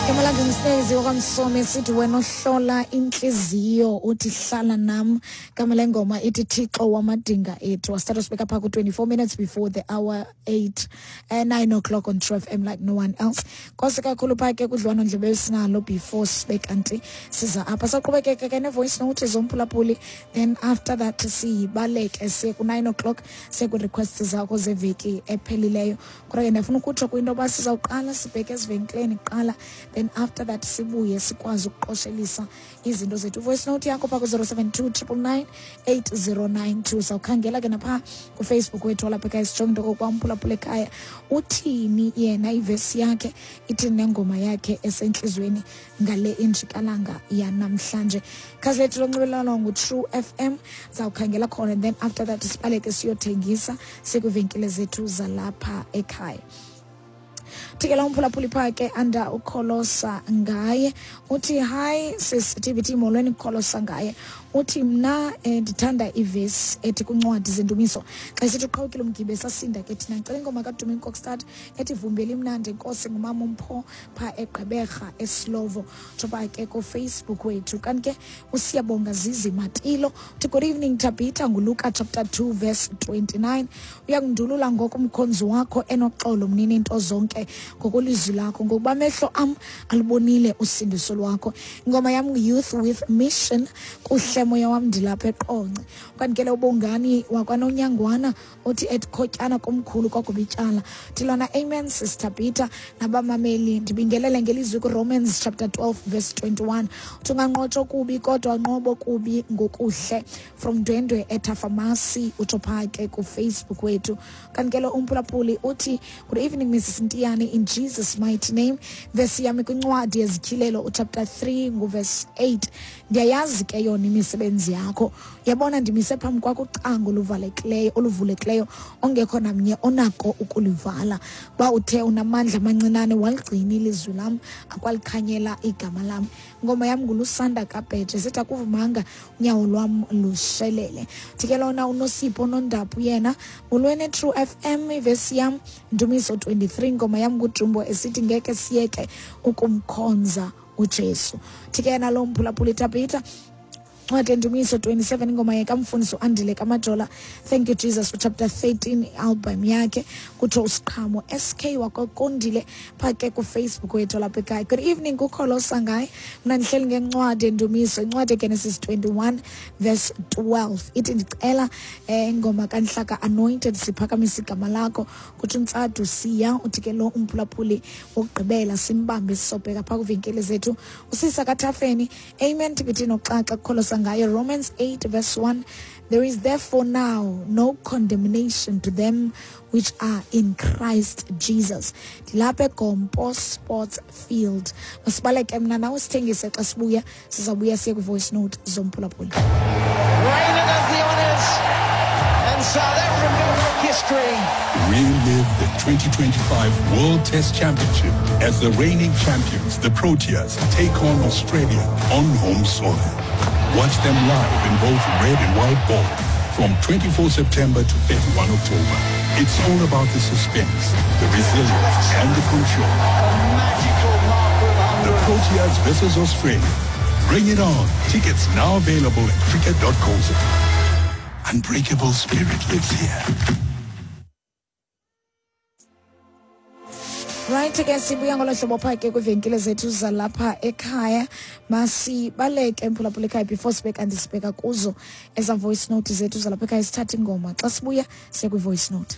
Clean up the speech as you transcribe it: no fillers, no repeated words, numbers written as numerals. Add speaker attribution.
Speaker 1: Igama lakhe nguStezi wakwamsomi sithi wena ohlola intliziyo uthi hlala nam. Igama lengoma ithi Thixo wamadinga ethu. Wasithatha sibeka phaa ku-24 minutes before the hour 8, 9 o'clock on True FM like no one else. Nkosi kakhulu phaa ke kudliwano-ndlebe esinalo before sibe kanti siza apha. Saqhubekeka ke ne-voice note zomphulaphuli, then after that sibaleke siye ku-9 o'clock, siye kwi-requests zakho zeveki ephelileyo. Kodwa ke ndiyafuna ukutsho kwinto yoba sizawuqala sibheke ezivenkileni kuqala, then after that sibuye sikwazi ukuqoshelisa izinto zethu. Voice note yakho phaa ku-072 999 8092. Sawukhangela ke naphaa kuFacebook wethu walapha ekhaya, sijonge into okokuba umphulaphula ekhaya uthini yena, ivesi yakhe ithini nengoma yakhe esentliziyweni ngale injikalanga yanamhlanje. Khasi lethu lonxibelelwano nguTrue FM, zawukhangela khona, and then after that sibaleke siyothengisa sikwiivenkile zethu zalapha ekhaya. Thikela umphulaphuli phaa ke anda ukholosa ngaye uthi, "Hi sis TBT, molweni." Kukholosa ngaye uthi, "Mna ndithanda ivesi ethi kwincwadi zendumiso xa isithi uqhawukile umgibe sasinda ke thina. Ndicela ingoma kaDumi Kokstad ethi Vumbeli imnandi inkosi." Ngumama uMpho phaa eGqeberha eSlovo, tsho ke kuFacebook wethu. Kanti ke uSiyabonga Zizi Matilo uthi, "Good evening Tabitha, nguLuka chapter 2 verse 29: uyakundulula ngoko umkhonzi wakho enoxolo, mnini into zonke, ngokwelizwi lakho, ngokuba amehlo am alubonile usindiso lwakho. Ingoma yam Youth with Mission, Kuhle Moya Wam. Ndilapha eQonce." Kanti ke le ubongani wakwanonyangwana uthi etikhotyana komkhulu kwaGubityala, uthi lona, "Amen Sister Peter nabamameli, ndibingelele ngelizwi kuRomans chapter 12 verse 21, uthi unganqotshwa kubi kodwa nqobo kubi ngokuhle. From Ndwendwe eThafamasi," utsho phaa ke kuFacebook wethu. Kanti ke lo umphulaphuli uthi, "Good evening Mrs Ntiyane, in Jesus mighty name, vesi yami kwincwadi yezityhilelo uchapter 3 nguverse 8: ndiyayazi ke yona imisebenzi yakho, yabona ndimise phambi kwakho ucango oluvalekileyo oluvulekileyo ongekho namnye onako ukulivala. Uba uthe unamandla amancinane, waligcina ilizwi lam, akwalikhanyela igama lam. Ingoma yam nguLusanda Kabheje, sithi Akuvumanga Unyawo Lwam Lushelele." Thi ke lona uNosipho Nondaphu yena, "Molweni True FM, ivesi yam Ndumiso 23, ingoma yam nguJumbo esithi Ngeke Siyeke Ukumkhonza uJesu." Thi ke yena lo mphulaphuli, "Tabitha, ncwadi endumiso 27, ingoma yekamfundisi uAndile Kamajola, Thank You Jesus, uchapter 13, album yakhe," kutsho uSiqhamo SK wakokondile phaa ke kuFacebook wethu lapha ekhaya. "Good evening kukholo sangaye, mna ndihleli ngencwadi endumiso, incwadi eGenesis 21 verse 12 ithi ndicela ingoma kaNhlaka Anointed, Siphakamisa Igama Lakho," kutsho uNtsadu Siya. Uthi ke lo umphulaphuli wokugqibela simbambe, sisobheka phaa kwivenkile zethu. Usisa kaThafeni, "Amen TBT noxaxa kukholosa ngayo. Romans 8 verse 1: there is therefore now no condemnation to them which are in Christ Jesus. Ndilapha eGompo Sports Field." Masibaleke mna nawe sithengise, xa sibuya sizawubuya siye kwi-voice note zomphulaphuli.
Speaker 2: Raina does the honours, and South Africa make history.
Speaker 3: Relive the 2025 World Test Championship as the reigning champions, the Proteas, take on Australia on home soil. Watch them live in both red and white ball from 24 September to 31 October. It's all about the suspense, the resilience, and the control.
Speaker 2: A magical mark of
Speaker 3: The
Speaker 2: 100.
Speaker 3: Proteas versus Australia. Bring it on. Tickets now available at cricket.co.za. Unbreakable spirit lives here.
Speaker 1: Right ke, sibuya ngolo hlobo phaa ke kwiivenkile zethu zalapha ekhaya. Masibaleke mphulaphula ekhaya before sibe kanti sibheka kuzo eza voice note zethu zalapha ekhaya, sithathe ingoma, xa sibuya siye kwi-voice note.